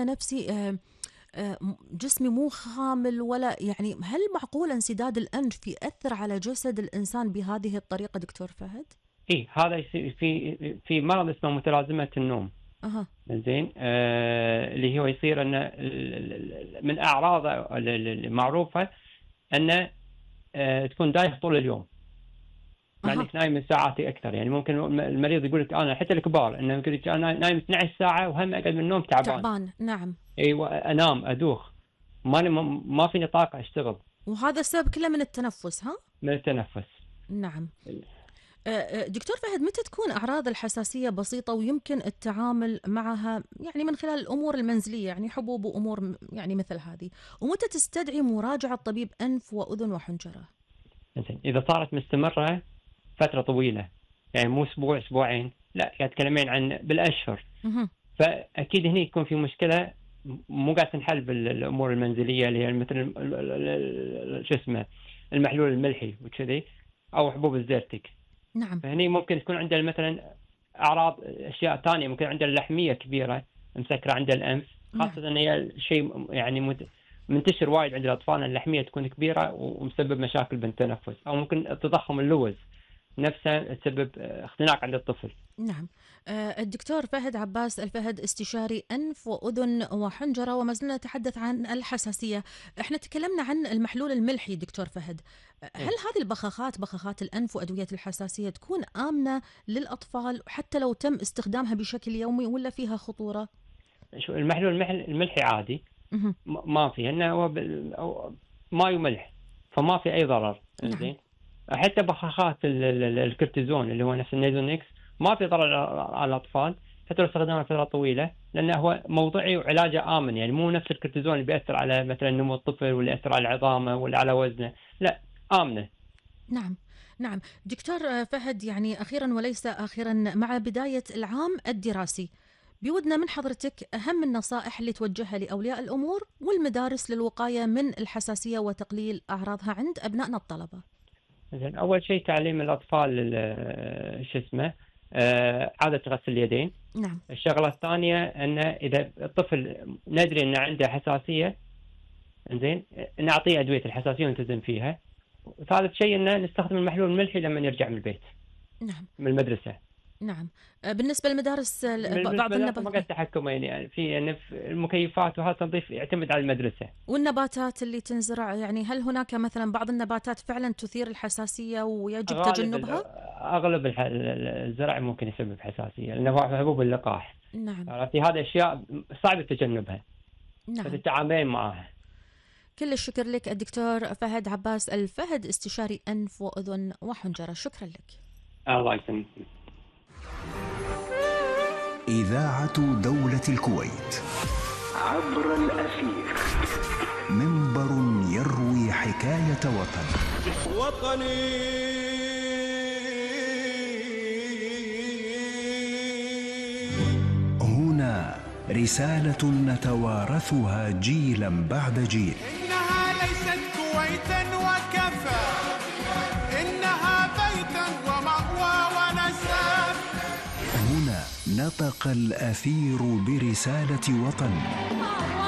نفسي جسمي مو خامل ولا يعني، هل معقول انسداد الأنف يأثر على جسد الإنسان بهذه الطريقة دكتور فهد؟ إيه، هذا يصير في مرض اسمه متلازمة النوم. أها. زين. اللي هو يصير أن من أعراضه المعروفة أن تكون دايخ طول اليوم، مع أها. انك نايم من ساعات اكثر. يعني ممكن المريض يقول لك انا، حتى الكبار، انه يقول لك انا نايم 12 ساعه وهم اقعد من النوم تعبان. نعم. ايوه، انام ادوخ، ما فيني طاقه اشتغل. وهذا السبب كله من التنفس، ها؟ من التنفس. نعم. دكتور فهد، متى تكون أعراض الحساسية بسيطة ويمكن التعامل معها يعني من خلال الأمور المنزلية، يعني حبوب وأمور يعني مثل هذه، ومتى تستدعي مراجعة طبيب أنف وأذن وحنجرة؟ اذا صارت مستمره فتره طويله، يعني مو اسبوع اسبوعين، لا، تتكلمين عن بالاشهر، فاكيد هنا يكون في مشكله مو قاعد تنحل بالامور المنزليه، اللي هي مثل شو اسمه المحلول الملحي وكذي، او حبوب الزيرتك. نعم. فهني ممكن تكون عنده مثلا اعراض اشياء ثانيه، ممكن عنده اللحميه كبيره مسكره عند الانف، خاصه ان هي شيء يعني منتشر وايد عند الاطفال، اللحميه تكون كبيره ومسبب مشاكل بالتنفس، او ممكن تضخم اللوز نفسه تسبب اختناق عند الطفل. نعم. الدكتور فهد عباس الفهد، استشاري أنف وأذن وحنجرة، وما زلنا نتحدث عن الحساسية. احنا تكلمنا عن المحلول الملحي دكتور فهد. هل هذه بخاخات الأنف وأدوية الحساسية تكون آمنة للأطفال حتى لو تم استخدامها بشكل يومي، ولا فيها خطورة؟ شو المحلول الملحي عادي، ما فيه، انه هو ماء وملح، فما في اي ضرر. زين. حتى بخاخات الكورتيزون اللي هو نفس النيزونيكس ما في ضرر على الاطفال حتى لو استخدمها فتره طويله، لانه هو موضعي وعلاجه امن. يعني مو نفس الكورتيزون اللي بياثر على مثلا نمو الطفل، واللي ياثر على عظامه ولا على وزنه، لا، امنه. نعم. دكتور فهد، يعني اخيرا وليس اخرا، مع بدايه العام الدراسي بودنا من حضرتك اهم النصائح اللي توجهها لاولياء الامور والمدارس للوقايه من الحساسيه وتقليل اعراضها عند ابنائنا الطلبه. زين. اول شيء تعليم الاطفال شو اسمه عاده غسل اليدين. نعم. الشغله الثانيه ان اذا الطفل ندري انه عنده حساسيه، زين، نعطيه ادويه الحساسيه ونلتزم فيها. وثالث شيء ان نستخدم المحلول الملحي لما يرجع من البيت. نعم. من المدرسه. نعم. بالنسبه للمدارس بعض النباتات ما قد تحكم، يعني في المكيفات وهذا تنظيف يعتمد على المدرسه. والنباتات اللي تنزرع، يعني هل هناك مثلا بعض النباتات فعلا تثير الحساسيه ويجب تجنبها؟ اغلب الزرع ممكن يسبب حساسيه، لانه هو حبوب اللقاح. نعم. في هذه اشياء صعب تجنبها. نعم. فتتعاملين معها. كل الشكر لك الدكتور فهد عباس الفهد، استشاري أنف وأذن وحنجرة. شكرا لك. الله يسلمك. إذاعة دولة الكويت عبر الأثير، منبر يروي حكاية وطني. هنا رسالة نتوارثها جيلا بعد جيل. إنها ليست كويتا وكفى، إنها بيتا ومأوى ونساب. هنا نطق الأثير برسالة وطن.